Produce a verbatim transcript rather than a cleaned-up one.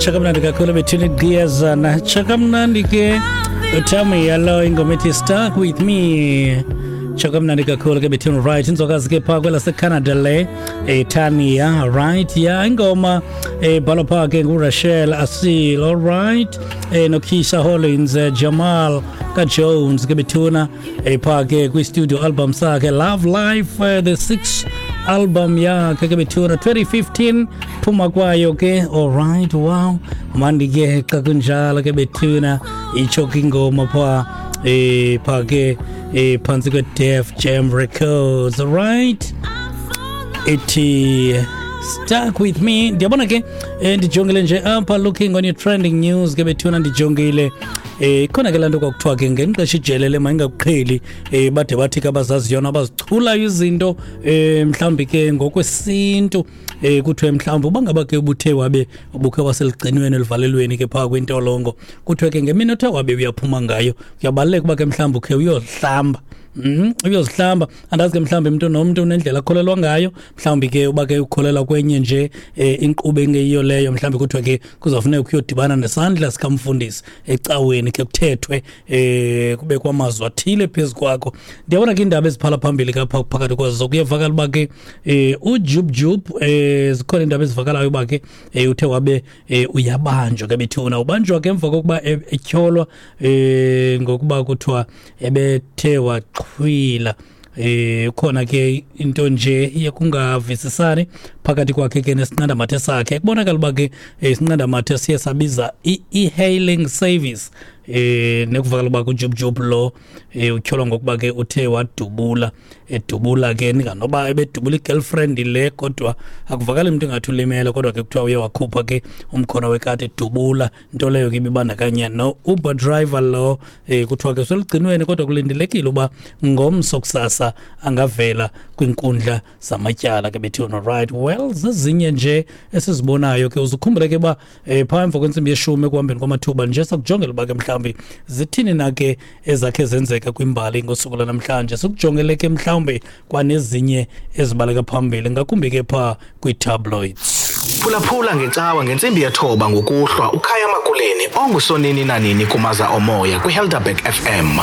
Tsho kamnandi kakhulu bethuni gqiyazana, tsho kamnandi ke uTamia lo, ingoma ethi "Stuck With Me". Tsho kamnandi kakhulu ke bethuni. Right, inzokazi ke phaa kwelaseCanada le, eTania. Right, ya, ingoma ebhalwa phaa ke nguRachel Asil, all right, eh noKeisha Hollins, eh, Jamal kaJones ke bethuna, ephaa ke kwi-studio album sakhe Love Life, eh, the sixth album yakhe ke bethuna, twenty fifteen phuma kwayo ke. Alright, wow, mandi ke xa kunjalo ke bethuna. Itsho ke ingoma phaa eh phaa ke eh phantsi kwe-Def Jam Records, right, ithi "Stuck With Me". Ndiyabona ke, eh, ndijongile nje apha, looking on your trending news ke bethuna, ndijongile, eh khona ke laa nto kwakuthiwa ke ngenxesha ijele le mayingakuqheli, eh bade bathi ke abazaziyo abazichulayo izinto, eh mhlawumbi ke ngokwesintu, eh kuthiwe mhlawumbi uba ngaba ke ubuthe wabe ubukhe waseligcinweni elivalelweni ke phaa kwintolongo, kuthiwe ke ngemini othe wabe uyaphuma ngayo, kuyabaluleka uba ke mhlawumbi ukhe uyozihlamba. Mm, uyozihlamba. Andazi ke, mhlawumbi umntu nomntu unendlela akholelwa ngayo. Mhlawumbi ke uba ke ukholelwa kwenye nje eh, inkqubo engeyiyo leyo, mhlawumbi kuthiwe ke kuzawufuneka uyodibana nesandla sikamfundisi ecaweni ke, kuthethwe, eh kube kwamazwi athile phezu kwakho. Ndiyabona ke iindaba eziphala phambili kapha, phakathi kwazo kuyevakala uba ke eh uJub Jub, eh zikhona iindaba ezivakalayo uba ke eh uthe wabe eh, uyabanjwa ke bethuna. Ubanjwa ke emva kokuba e- etyholwa eh ngokuba kuthiwa ebethe waxhwila. eh khona ke into nje yekungavisisani phakathi kwakhe ke nesinqandamathe sakhe. Kubonakala uba ke eh, isinqandamathe siye sabiza i-e-hailing service, eh nekuvakala uba kuJubjub lo eh utyholwa ngokuba ke uthe wadubula, edubula ke ninganoba ebedubula i-girlfriend le, kodwa akuvakali umuntu engathi ulimele, kodwa ke kuthiwa uye wakhupha ke umkhono wekati edubula, nto leyo ke ibibandakanya no-Uber driver lo. eh kuthiwa ke seligcinweni, kodwa kulindelekile uba ngomso kusasa angavela kwiinkundla zamatyala ke bethuna. Right, well, zezinye nje esizibonayo ke. Uzukhumbule ke uba um phaa emva kwentsimbi yeshumi ekuhambeni kwamathuba nje sakujongela uba ke mhlawumbi zithini na ke ezakhe zenzeka kwimbali ngosuku lwanamhlanje, sikujongele ke mhlawumbi kwanezinye ezibaleka phambili ngakumbi ke phaa kwii-tabloids. Phulaphula ngecawa ngentsimbi yethoba ngokuhlwa uKhaya Makuleni ongusonini nanini kumaza omoya kwiHelderberg F M.